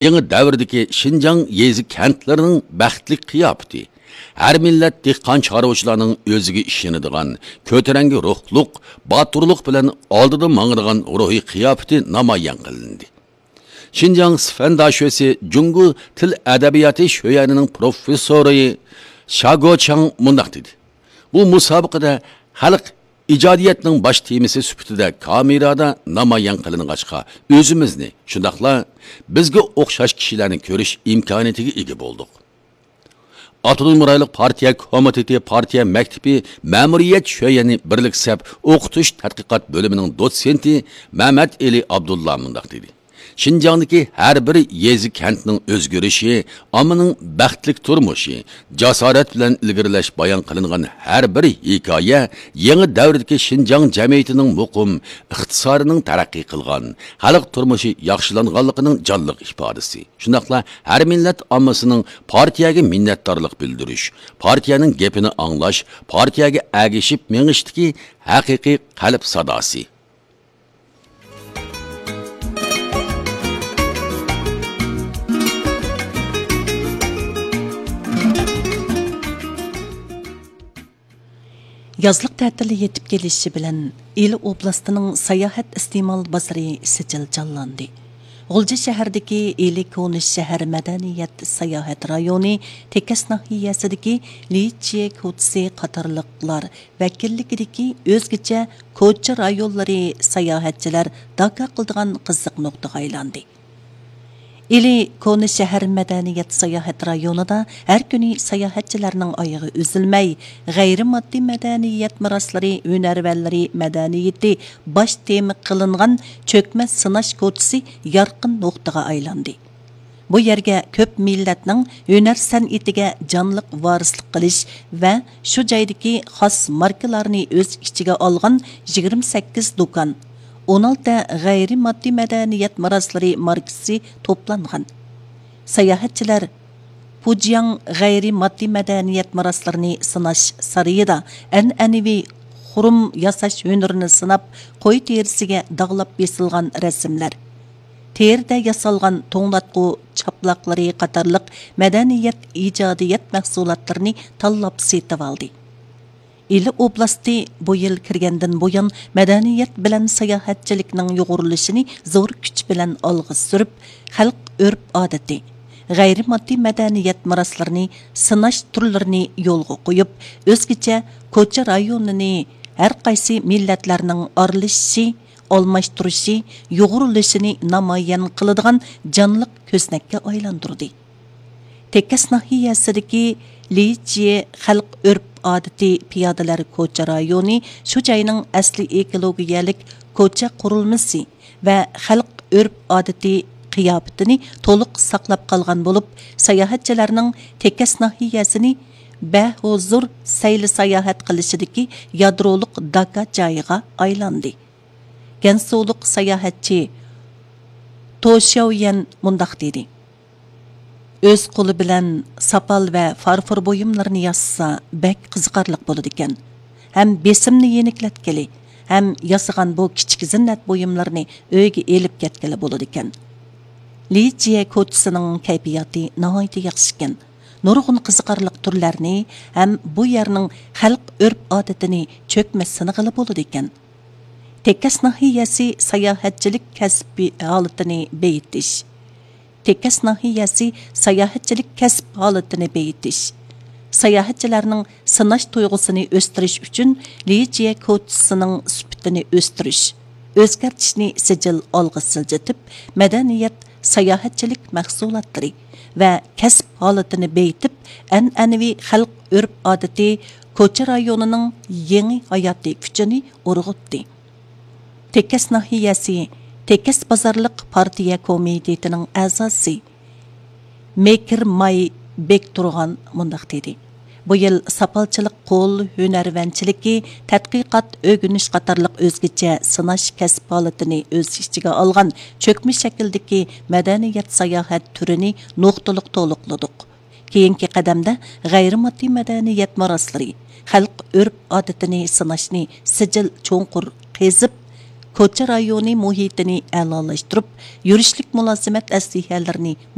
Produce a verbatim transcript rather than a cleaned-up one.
يېڭى دەۋردىكى شىنجاڭ يېزا كەنتلىرىنىڭ بەختلىك قىياپىتى، ھەر مىللەت دېھقان چارۋىچىلارنىڭ ئۆزىگە ئىشىنىدىغان، كۆتۈرەڭگۈ روھلۇق، باتۇرلۇق بىلەن ئالدىدا ماڭىدىغان روھىي قىياپىتى نامايان قىلىندى. شىنجاڭ سىفەن داشۆسى جۇڭگو تىل ئەدەبىياتى شۆيەنىنىڭ پروفېسسورى شاگو چاڭ مۇنداق دېدى: بۇ مۇسابىقىدە خەلق ئىجادىيەتنىڭ باش تېمىسى سۈپىتىدە كامېرادا نامايان قىلىنغاچقا، ئۆزىمىزنى، شۇنداقلا بىزگە ئوخشاش كىشىلەرنى كۆرۈش ئىمكانىيىتىگە ئىگە بولدۇق. ئاپتونوم رايونلۇق پارتىيە كومىتېتى پارتىيە مەكتىپى مەمۇرىيەت شۆيەنى بىرلىكسەپ ئوقۇتۇش تەتقىقات بۆلۈمىنىڭ دوتسېنتى مەمەت ئېلى ئابدۇللا مۇنداق دېدى: شىنجاڭدىكى ھەر بىر يېزا كەنتنىڭ ئۆزگىرىشى، ئاممىنىڭ بەختلىك تۇرمۇشى، جاسارەت بىلەن ئىلگىرىلەش بايان قىلىنغان ھەر بىر ھېكايە يېڭى دەۋردىكى شىنجاڭ جەمئىيىتىنىڭ مۇقىم، ئىقتىسادىنىڭ تەرەققىي قىلغان، خەلق تۇرمۇشى ياخشىلانغانلىقىنىڭ جانلىق ئىپادىسى. شۇنداقلا ھەر مىللەت ئاممىسىنىڭ پارتىيەگە مىننەتدارلىق بىلدۈرۈش، پارتىيەنىڭ گېپىنى ئاڭلاش، پارتىيەگە ئەگىشىپ مېڭىشتىكى ھەقىقىي قەلب ساداسى. يازلىق تەتىل يېتىپ كېلىشى بىلەن، ئىلى ئوبلاستىنىڭ ساياھەت ئىستېمال بازىرى سىجىل جانلاندى. غۇلجا شەھىرىدىكى ئىلى كونا شەھەر مەدەنىيەت ساياھەت رايونى، تېكەس ناھىيەسىدىكى لىچيې كوچىسى قاتارلىقلار ۋەكىللىكىدىكى ئۆزگىچە كوچا رايونلىرى ساياھەتچىلەر داكا قىلىدىغان قىزىق نۇقتىغا ئايلاندى. ئىلى كونا شەھەر مەدەنىيەت ساياھەت رايونىدا ھەر كۈنى ساياھەتچىلەرنىڭ ئايىغى ئۈزۈلمەي، غەيرىي ماددىي مەدەنىيەت مىراسلىرى، ھۈنەرۋەنلىرى مەدەنىيىتى باش تېما قىلىنغان چۆكمە سىناش كوچىسى يارقىن نۇقتىغا ئايلاندى. بۇ يەرگە كۆپ مىللەتنىڭ ھۈنەر سەنئىتىگە جانلىق ۋارىسلىق قىلىش ۋە شۇ جايدىكى خاس ماركىلارنى ئۆز ئىچىگە ئالغان يىگىرمە سەككىز دۇكان، ئون ئالتە غەيرىي ماددىي مەدەنىيەت مىراسلىرى ماركىسى توپلانغان. ساياھەتچىلەر پۇجياڭ غەيرىي ماددىي مەدەنىيەت مىراسلىرىنى سىناش سارىيىدا ئەنئەنىۋى خۇرۇم ياساش ھۈنىرىنى سىناپ، قوي تېرىسىگە داغلاپ بېسىلغان رەسىملەر، تېرىدە ياسالغان توڭلاتقۇ چاپلاقلىرى قاتارلىق مەدەنىيەت ئىجادىيەت مەھسۇلاتلىرىنى تاللاپ سېتىۋالدى. ئىلى ئوبلاستى بۇ يىل كىرگەندىن بۇيان، مەدەنىيەت بىلەن ساياھەتچىلىكنىڭ يۇغۇرۇلۇشىنى زور كۈچ بىلەن ئالغا سۈرۈپ، خەلق ئۆرپ-ئادىتى، غەيرىي ماددىي مەدەنىيەت مىراسلىرىنى سىناش تۈرلىرىنى يولغا قويۇپ، ئۆزگىچە كوچا رايونىنى ھەر قايسى مىللەتلەرنىڭ ئارىلىشىشى، ئالماشتۇرۇشى، يۇغۇرۇلۇشىنى نامايان قىلىدىغان جانلىق كۆزنەككە ئايلاندۇردى. تېكەس ناھىيەسىدىكى لىچيې خەلق ئۆرپ-ئادىتى پىيادىلەر كوچا رايونى شۇ جاينىڭ ئەسلى ئېكولوگىيەلىك كوچا قۇرۇلمىسى ۋە خەلق ئۆرپ-ئادىتى قىياپىتىنى تولۇق ساقلاپ قالغان بولۇپ، ساياھەتچىلەرنىڭ تېكەس ناھىيەسىنى بەھۇزۇر سەيلە ساياھەت قىلىشىدىكى يادرولۇق داكا جايىغا ئايلاندى. گەنسۇلۇق ساياھەتچى تو شياۋيەن مۇنداق دېدى: ئۆز قولى بىلەن ساپال ۋە فارفور بۇيۇملىرىنى ياسىسا بەك قىزىقارلىق بولىدىكەن. ھەم بېسىمنى يېنىكلەتكىلى، ھەم ياسىغان بۇ كىچىك زىننەت بۇيۇملىرىنى ئۆيگە ئېلىپ كەتكىلى بولىدىكەن. لىجيې كوچىسىنىڭ كەيپىياتى ناھايىتى ياخشىكەن. نۇرغۇن قىزىقارلىق تۈرلەرنى ھەم بۇ يەرنىڭ خەلق ئۆرپ-ئادىتىنى چۆكمە سىنىغىلى بولىدىكەن. تېكەس ناھىيەسى ساياھەتچىلىك كەسپى ھالىتىنى بېيىتىش. تېكەس ناھىيەسى ساياھەتچىلىك كەسىپ ھالىتىنى بېيىتىش، ساياھەتچىلەرنىڭ سىناش تۇيغۇسىنى ئۆستۈرۈش ئۈچۈن لىجيې كوچىسىنىڭ سۈپىتىنى ئۆستۈرۈش، ئۆزگەرتىشنى سىجىل ئالغا سىلجىتىپ، مەدەنىيەت، ساياھەتچىلىك مەھسۇلاتلىرى ۋە كەسىپ ھالىتىنى بېيىتىپ، ئەنئەنىۋى خەلق ئۆرپ-ئادىتى، كوچا رايونىنىڭ يېڭى ھاياتىي كۈچىنى ئۇرغۇتتى. تېكەس ناھىيەسى تېكەس بازارلىق پارتىيە كومىتېتىنىڭ ئەزاسى مېكىر ماي بەكتۇرغان مۇنداق دېدى: بۇ يىل ساپالچىلىق، قول ھۈنەرۋەنچىلىكى، تەتقىقات، ئۆگىنىش قاتارلىق ئۆزگىچە سىناش كەسىپ ھالىتىنى ئۆز ئىچىگە ئالغان چۆكمە شەكىلدىكى مەدەنىيەت ساياھەت تۈرىنى نۇقتىلىق تولۇقلىدۇق. كېيىنكى قەدەمدە غەيرىي ماددىي مەدەنىيەت مىراسلىرى، خەلق ئۆرپ-ئادىتىنى سىناشنى سىجىل چوڭقۇر قېزىپ، كوچا رايونى مۇھىتىنى ئەلالاشتۇرۇپ، يۈرۈشلۈك مۇلازىمەت ئەسلىھەلىرىنى